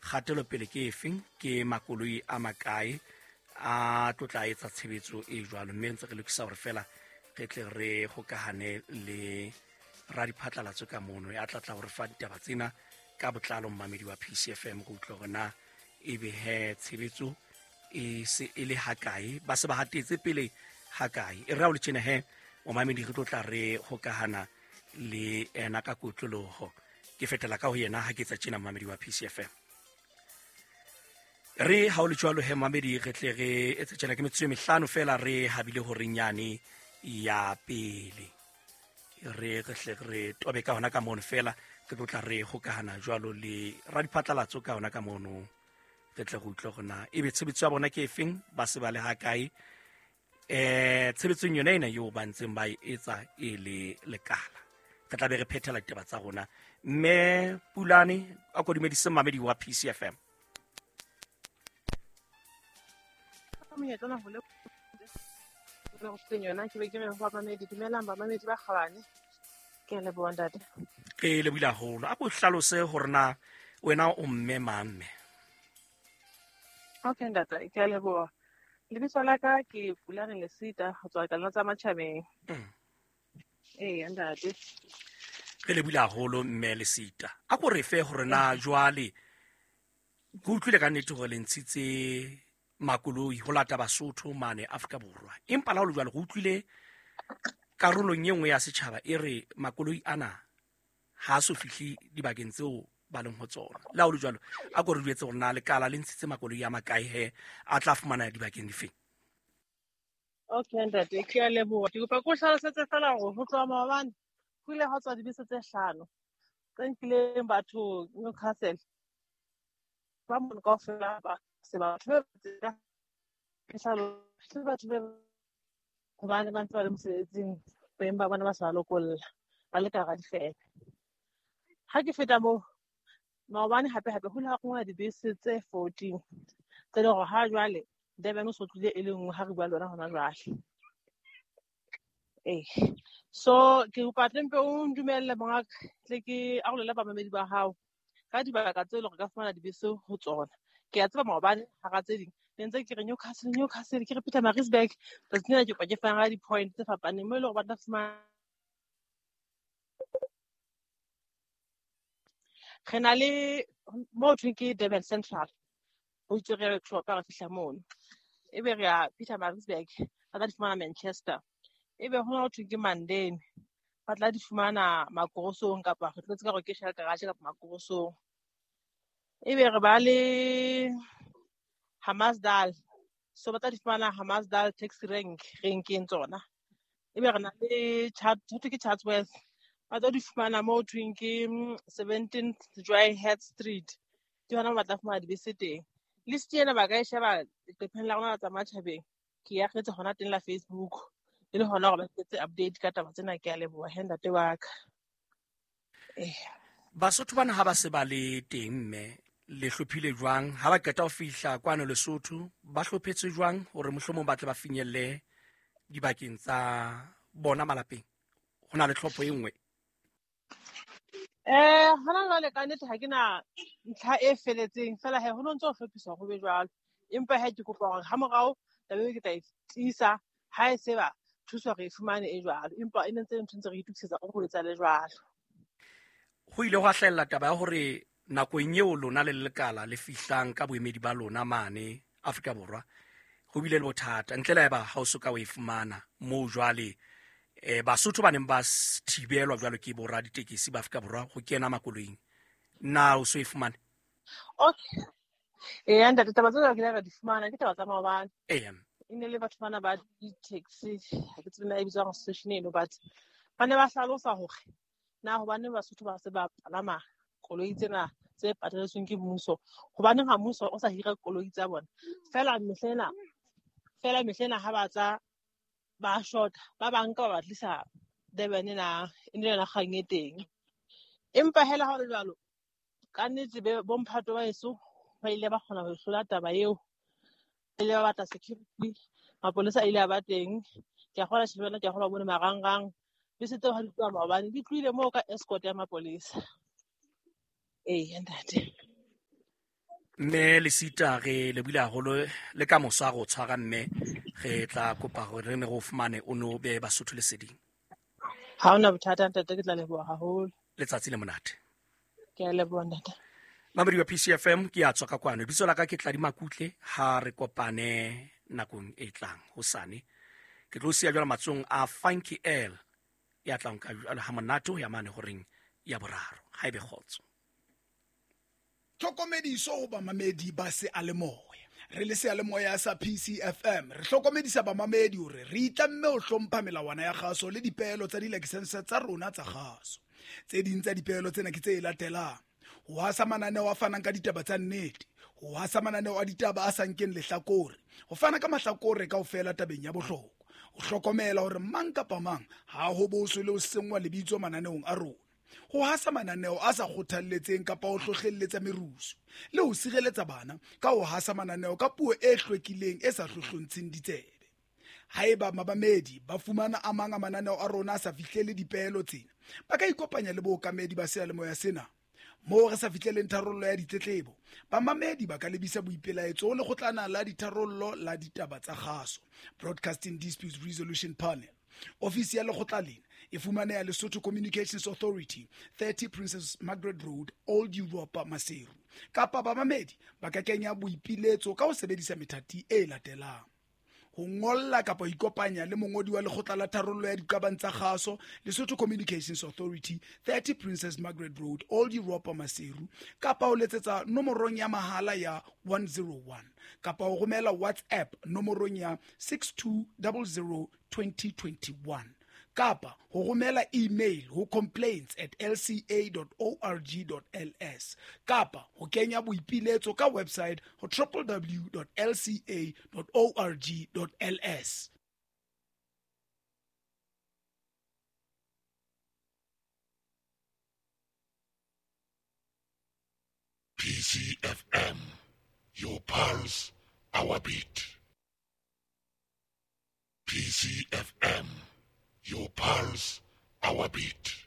Kgatelopele ke efeng, ke makoloi a makae a tlo tla etsa tshebetso e jwalo, mme ntse re lokisa hore fela re tle re hokahane le radiphatlalatso ka mono ya tla tla hore fa ditaba tsena ka botlalo. Mmamedi wa PCFM, go utlwa hore na ebe he tshebetso e se e le hakae, ba se ba hatetse pele hakae. E re ha o le tjena he, momamedi, re tlo tla re hokahana le ena ka kotloloho. Ke fetela ka ho yena ha ke etsa tjena, momamedi wa PCFM. Re ha o le jwalo he, mamedi, re tle re etse tjena. Ke metsotso e mehlano fela re habile horeng yane ya pele. Re hle re tobe ka hona ka mono fela, re tlo tla re hokahana jwalo le radiphatlalatso ka hona ka mono, re tle re utlwe hore na ebe tshebetso ya bona ke efeng, ba se ba le hakae tshebetsong yona ena eo ba ntseng ba e etsa e le lekala. Re tla be re phethela ditaba tsa rona. Mme Pulane, a ko dumedise mamedi wa PCFM. Monyetla ona ho le yona ke be ke re ho bamamedi, dumelang bamamedi ba kgabane, ke a leboha, ntate. Ke lebohile haholo. A ko hlalose hore na wena o mme mang, mme? Okay ntate, ke a leboha. Lebitso la ka ke Pulane Lesita, ho tswa Kalona tsa Matjhabeng. Ee ntate. Re lebohile haholo, mme Lesita. A ko re fe hore na jwale go utlwile ka nnete hore le ntshitse makoloi ho lata Basotho mane Afrika Borwa, empa la ho le jwalo go utlwile karolong e nngwe ya setjhaba e re makoloi ana ha a so fihle dibakeng tseo ba leng ho tsona. Le ha ho le jwalo, a ko re jwetse hore na lekala le ntshitse makoloi a makae he, a tla fumana dibakeng difeng? Okay ntate, ke a leboha. Ke kopa ke o hlalosetse fela hore ho tloha maobane ho ile ha tswa dibese tse hlano tse nkileng batho Newcastle ba mono kaofela, ba se batho ba batho be hobane ba ntse ba le mosebetsing, beng ba bona ba sa ba lokolla, ba le ka hara difeme. Ha ke feta moo, maobane hape hape ho ile ha kongwa dibese tse 14 tse leng hore ha jwale Durban o so tlile e le nngwe ha re bua le wena hona jwale. Ee, so ke kopa tle mpe o ndumelle, mongaka, tle ke arolele bamamedi ba hao ka dibaka tse leng hore ka fumana dibese ho tsona. Ke a tseba maobane hara tse ding ne ntse ke re Newcastle, Newcastle, ke re Pietermaritzburg. Tsatsing lena ke kopa ke fana ka di-point tse fapaneng mo e leng hore ba tla fumana. Re na le mo thweng ke Durban Central, ho itswe re workshop re fihla mono, ebe re ya Pietermaritzburg, ba tla di fumana Manchester, ebe ho na ho thweng ke Mandeni, ba tla di fumana Makorosong, kapa re tlotse ka hore ke Shell Garage kapa Makorosong. Ebe re ba le Hammarsdal, so ba tla di fumana Hammarsdal taxi rank, renkeng tsona. Ebe re na le ho thwe ke Chatsworth, ba tlo di fumana mo thweng ke 17th Joy Head Street, ke hona mo ba tla fumana dibese teng. List ena ba ka e sheba leqepheng la rona la tsa matjhabeng, ke e akgetse hona teng la Facebook, e le hona hore ba etse update ka taba tsena. Ke a leboha he, ntate wa ka. Basotho bana ha ba se ba le teng, mme, le hlophile jwang ha ba qeta ho fihla kwano Lesotho? Ba hlophetswe jwang hore mohlomong ba tle ba finyelle dibakeng tsa bona malapeng? Ho na le tlhopho e nngwe? Hona jwale ka nnete ha ke na ntlha e feletseng, fela he ho no ntse ho hlophiswa ho be jwalo, empa he ke kopa hore ha morao taba eo ke tla e tiisa ha e se ba thuso re e fumane e jwalo, empa e ne ntse ntho ntse re itokisetsa go etsa le jwalo. Ho ile hwa hlahella taba ya hore nakong eo lona le lekala le fihlang ka boemedi ba lona mane Afrika Borwa, ho bile le bothata ntle le haeba ha o so ka o e fumana moo jwale Basotho ba neng ba thibelwa jwalo ke bora ditekesi ba Afrika Borwa ho kena makoloing. Na o so e fumane? Okay, ee ntate, taba tsena ke ra di fumana, ke taba tsa maobane. Ee. E ne le batho bana ba di-taxi, ha ke tsebe na e bitswang association eno, but ba ne ba hlalosa hore na hobane Basotho ba se ba palama koloi tsena tse pataletsweng ke mmuso, hobaneng ha mmuso o sa hira koloi tsa bona fela mehlena fela mehlena ha ba tla ba shota, ba banka ba ba tlisa Durban, na e ne yona kgang e teng. Empa hela ha ho le jwalo, ka nnete bomphato ba heso ba ile ba kgona ho hlola taba eo, ba ile ba batla security, mapolesa a ile a ba teng. Ke a kgola shebella, ke a kgola bone marangrang, bese tseo ha di tloha maobane di tlohile moo ka escort ya mapolesa. Ee ntate. Mme Lesita, re lebohile haholo le ka moso a re o tshwara, mme re tla kopa hore re ne re o fumane o no be Basotho leseding. Ha hona bothata ntate, ke tla leboha haholo. Letsatsi le monate. Ke a leboha ntate. Mamedi wa PCFM, ke a tswa ka kwano. Lebitso la ka ke Tladi Makutle, ha re kopane nakong e tlang hosane. Ke tlo siya jwale matsong a Funky L ya tlang ka jwale ha monate ho ya mane horeng ya boraro. Ha ebe kgotso. Tlhokomediso ho bamamedi ba seyalemoya. Re le seyalemoya sa PCFM, re hlokomedisa bamamedi hore re itlamme ho hlompha melawana ya kgaso le dipeelo tsa dilakesense tsa rona tsa kgaso. Tse ding tsa dipeelo tsena ke tse latelang: ho hasa mananeo a fanang ka ditaba tsa nnete, ho hasa mananeo a ditaba a sa nkeng lehlakore, ho fana ka mahlakore kaofela tabeng ya bohlokwa, ho hlokomela hore mang kapa mang ha ho boswe le ho senngwa lebitso mananeong a rona, ho hasa mananeo a sa kgothalletseng kapa ho hlohlelletsa merusu, le ho sireletsa bana ka ho hasa mananeo ka puo e hlwekileng e sa hlohlontsheng ditsebe. Haeba mabamedi ba fumana a mang a mananeo a rona a sa fihlele dipeelo tsena, ba ka ikopanya le bookamedi ba seyalemoya sena. Moo re sa fihleleng tharollo ya ditletlebo, bamamedi ba ka lebisa boipelaetso ho lekgotlana la ditharollo la ditaba tsa kgaso, Broadcasting Disputes Resolution Panel. Ofisi ya lekgotla lena e fumaneha Lesotho Communications Authority, 30 Princess Margaret Road, Old Europa, Maseru. Kapa bamamedi ba ka kenya boipiletso ka ho sebedisa methati e latelang: ho ngolla kapa ho ikopanya le mongodi wa lekgotla la tharollo ya diqabang tsa kgaso, Lesotho Communications Authority, 30 Princess Margaret Road, Old Europa, Maseru, kapa ho letsetsa nomorong ya mahala ya 101, kapa ho romela WhatsApp nomorong ya 6200 2021, kapa ho romela email ho complaints@lca.org.ls, kapa ho kenya boipiletso ka website ho www.lca.org.ls. PCFM, your pulse, our beat. PCFM, your pulse, our beat.